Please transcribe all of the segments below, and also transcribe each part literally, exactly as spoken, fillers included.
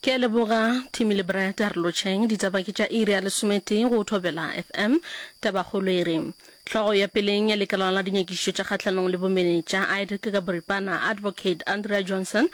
Ke a leboga Timmy le Brad a re lotšheng ditaba ke tša iri ya lesometee go Thobela F M. Tabakgolo e re hlogo ya peleng ya lekala la dinyakišišo tša kgahlanong le bomenetša I D C ka boripana Advocate Andrea Johnson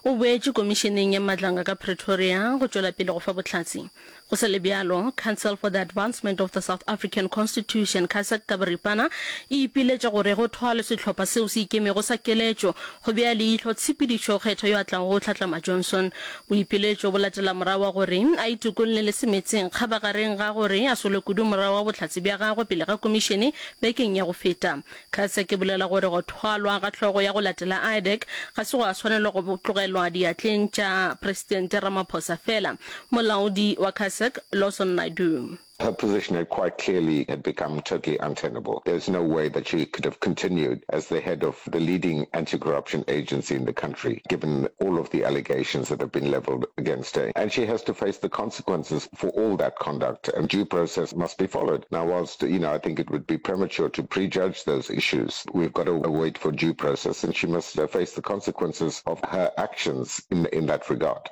o boetše komišeneng ya Madlanga ka Pretoria go tšwela pele go fa bohlatse. Go sa le bjalo, Council for the Advancement of the South African Constitution, CASAC ka boripana, e ipiletša gore go thwalwe sehlopha seo se ikemego sa keletšo go bea leihlo tshepedišo kgetho yo a tlago go hlatlama Johnson. Boipiletšo bo latela morago wa gore a itokolle le semetseng kgabagareng ga gore a solwe kudu morago ga bohlatse bja gagwe pele ga komišene bekeng ya go feta. CASAC e bolela gore go thwalwa ga hlogo ya go latela I D C ga se gwa swanelwa go tlogelwa diatleng tša Presidente Ramaphosa fela. Molaodi wa CASAC, Lawson Naidoo. Her position had quite clearly had become totally untenable. There's no way that she could have continued as the head of the leading anti-corruption agency in the country, given all of the allegations that have been leveled against her. And she has to face the consequences for all that conduct, and due process must be followed. Now, whilst, you know, I think it would be premature to prejudge those issues, we've got to wait for due process, and she must face the consequences of her actions in, in that regard.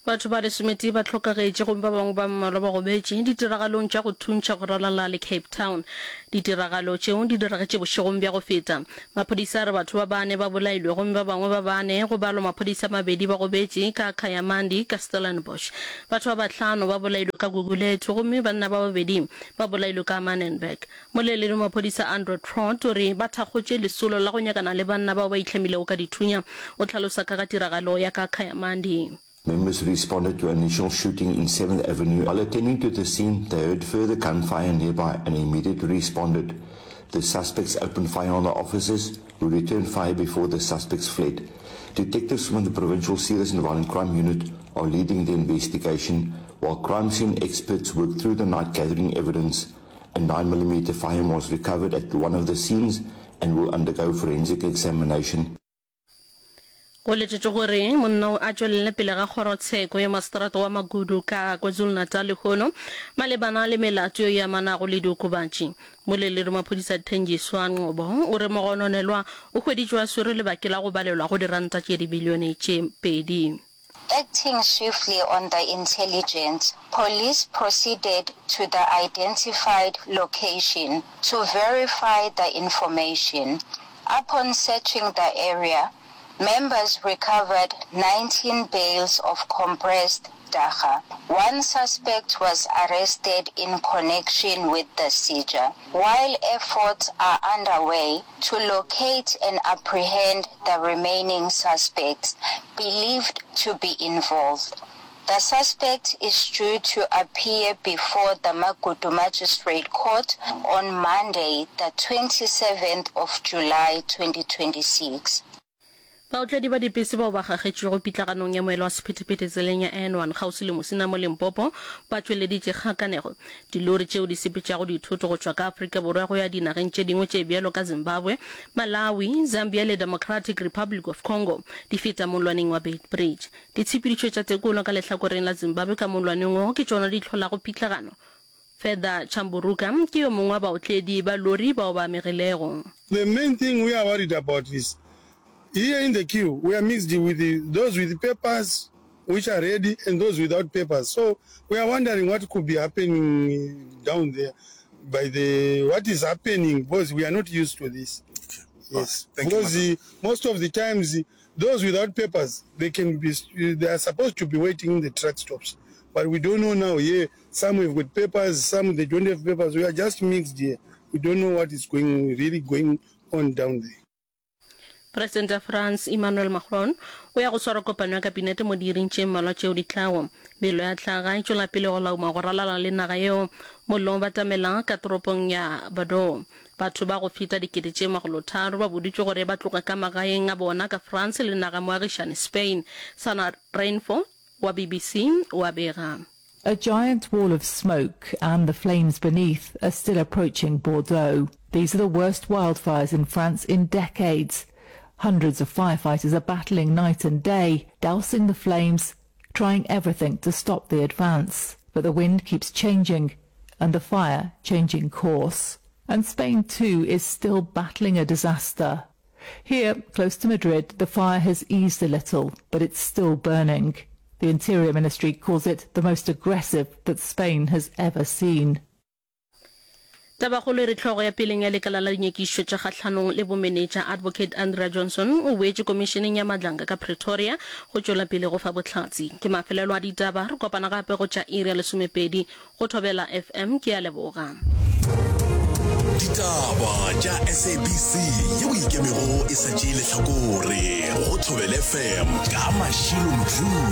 Batho ba lesometee ba hlokagetše gomme ba bangwe ba mmalwa ba gobetše ditiragalong tša go thuntšha go ralala le Cape Town. Ditiragalo tšeo di diragetše bošegong bja go feta. Maphodisa a re batho ba bane ba bolailwe gomme ba bangwe ba bane, go balwa maphodisa a mabedi, ba gobetše ka Kayamandi ka Stellenbosch. Batho ba bahlano ba bolailwe ka Gugulethu gomme banna ba babedi ba bolailwe ka Manenberg. Moleledi wa maphodisa Andre Trott o re ba thakgotše lesolo la go nyakana le banna bao ba itlhamilego ka dithunya. O hlalosa ka ga tiragalo ya ka Kayamandi. Members responded to an initial shooting in seventh Avenue. While attending to the scene, they heard further gunfire nearby and immediately responded. The suspects opened fire on the officers, who returned fire before the suspects fled. Detectives from the Provincial Serious and Violent Crime Unit are leading the investigation, while crime scene experts work through the night gathering evidence. A nine millimeter firearm was recovered at one of the scenes and will undergo forensic examination. Go letetšwe gore monna o a tšwelele pele ga kgorotsheko ya maseterata wa Magudu ka KwaZulu-Natal lehono malebana le melato ye e amanago le diokobatši. Moleledi wa maphodisa Thenjiswa Ngcobo o re mogononelwa o hweditšwe a swerwe lebake la go balelwa go diranta tše dibilione tše pedi. Acting swiftly on the intelligence, police proceeded to the identified location to verify the information. Upon searching the area, members recovered nineteen bales of compressed dagga. One suspect was arrested in connection with the seizure, while efforts are underway to locate and apprehend the remaining suspects believed to be involved. The suspect is due to appear before the Magudu Magistrate Court on Monday, the twenty-seventh of July twenty twenty-six. Baotledi ba dipese bao ba kgakgetšwego pitlaganong ya moelo wa sephethephethe tseleng ya N one kgauswi le Musina mo Limpopo ba tšweleditše kgakanego. Dilori tšeo di sepetšago dithoto go tšwa ka Afrika Borwa go ya dinageng tše dingwe tše bjalo ka Zimbabwe, Malawi, Zambia le Democratic Republic of Congo di feta mollwaneng wa Beitbridge. Ditshepedišo tša tekolo ka lehlakoreng la Zimbabwe ka mollwaneng wo ke tšona di hlolago pitlagano. Fedha Chamburuka ke yo mongwe wa baotledi ba lori bao ba amegilego. The main thing we are worried about is here in the queue we are mixed with the, those with papers which are ready and those without papers. So we are wondering what could be happening down there by the what is happening, because we are not used to this. Okay. Yes. Thank because you, most of the times those without papers, they can be they are supposed to be waiting in the truck stops. But we don't know now here. Some have got papers, some they don't have papers. We are just mixed here. We don't know what is going really going on down there. Presidente wa France Emmanuel Macron o ya go swara kopano ya kabinete mo diiring tše mmalwa tšeo di tlago. Mello ya hlaga e tšwela pele go lauma go ralala le naga yeo. Mollo o batamela ka toropong ya Bordeaux. Batho ba go feta dikete tše makgolotharo ba boditšwe gore ba tloge ka magaeng a bona ka France le naga moagišane Spain. Sana Rainford wa B B C o a bega. A giant wall of smoke and the flames beneath are still approaching Bordeaux. These are the worst wildfires in France in decades. Hundreds of firefighters are battling night and day, dousing the flames, trying everything to stop the advance. But the wind keeps changing and the fire changing course. And Spain too is still battling a disaster. Here, close to Madrid, the fire has eased a little, but it's still burning. The Interior Ministry calls it the most aggressive that Spain has ever seen. Tabakgolo e re hlogo ya peleng ya lekala la dinyakišišo tša kgahlanong le bomenetša Advocate Andrea Johnson o boetše komišeneng ya Madlanga ka Pretoria go tšwela pele go fa bohlatse. Ke mafelelo a ditaba, re kopana gape go tša iri ya lesomepedi go Thobela F M. Ke a leboga. Ditaba tša S A B C yeo ikemego e sa tšee lehlakore go Thobela F M ka Mashilo Mdluli.